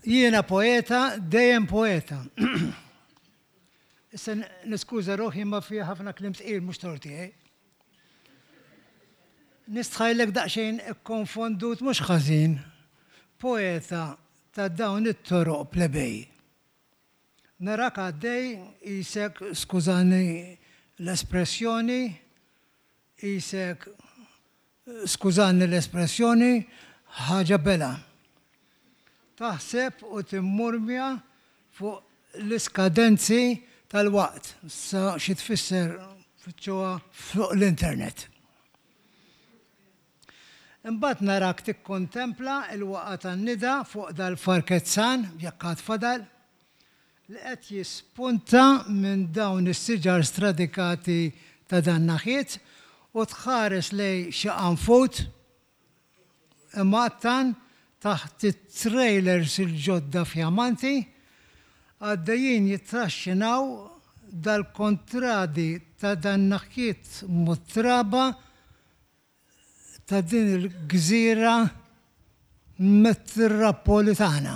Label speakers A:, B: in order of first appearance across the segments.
A: Jiena poeta, dejjem poeta. Issa niskuża ruħi ma fiha ħafna kliem tqil mhux tort tiegħi. Nistħajlek daqsxejn ikkonfondut mhux ħażin. Poeta ta' dawn it-toroq plebej. Narak għaddej qisek, skużani l-espressjoni, qisek, skużani l-espressjoni, ħaġa bela. Taħseb u timmurmja fuq l-iskadenzi tal-waqt. Sa xi tfisser fittxuha fuq l-internet. Imbagħad narak tikkontempla l-waqgħa tan-nida fuq dal-farkezzan, jekk għad fadal, li qed jispunta minn dawn is-siġar stradikati ta' dan naħiet u tħares lejn xi qanfud imgħattan taħt it-trailers il-ġodda fjamanti għaddejjin jittraxxinaw dal-kontradi ta' dan naħiet mutraba ta' din il-gżira metropolitana.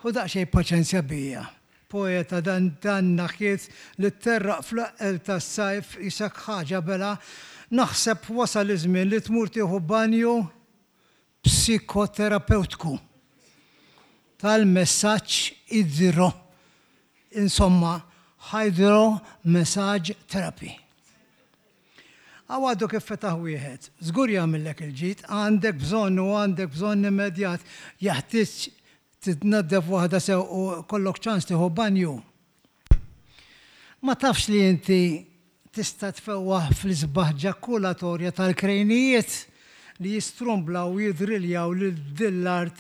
A: Ħu daqsxejn paċenzja bija, poeta dan dan naħiet li tterraq fl-eqqel tas-sajf qisek ħaġa bela, naħseb wasal iż-żmien li tmur tieħu banju psikoterapewtku tal-messaġġ idro, insomma, hydro massage therapy. Hawn għadu kif fetaħ wieħed, żgur jagħmillek il-ġid, għandek bżonn u għandek bżonn immedjat, jeħtieġ titnaddef waħda sew u jkollok ċans tieħu banju. Ma tafx li inti tista' tfewwaħ fl-isbaħ ġakulatorja tal-krejnijiet li jistrumblaw u jidriljaw lil din l-art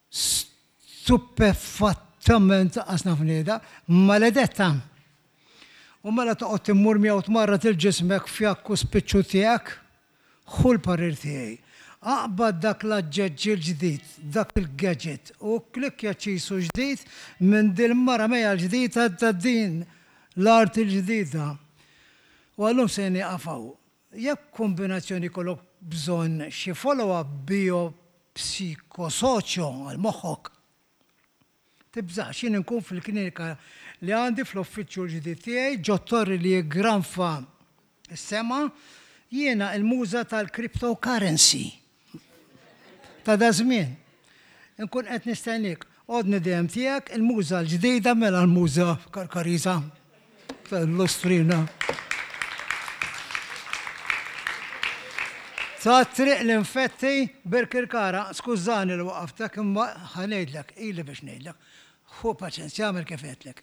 A: stupefattament anqas naf ngħidha, maledetta. U mela toqgħod timmurmja u tmarrad 'il ġismek fjakk u spiċċu tiegħek? Ħu l-parir tiegħi. Aqbad dak l-aġġeġġ il-ġdid, dak il-gadget, u kklikkja ċisu ġdid minn dil-mara mejja l-ġdida ta' din l-art il-ġdida. U għal-lum se nieqaf hawn. Jekk b'kumbinazzjoni jkollok bżonn xi follow-up bio-psiko-soċjo għal moħħok, Tibżax, jien inkun fil-klinika li għandi fl-uffiċċju l-ġdid tiegħi ġot-torri li jiggranfa s-sema, jiena il-muża tal-cryptocurrency ta' daż-żmien. Inkun qed nistenniek. Għodni dejjem tiegħek, il-muża l-ġdida mela l-muża Karkariża tal-Lustrina. Ta' triq l-infetti Birkirkara, skużani li waqaftek imma ħa ngħidlek, ili biex ngħidlek. Ħu paċenzja agħmel kif għedtlek.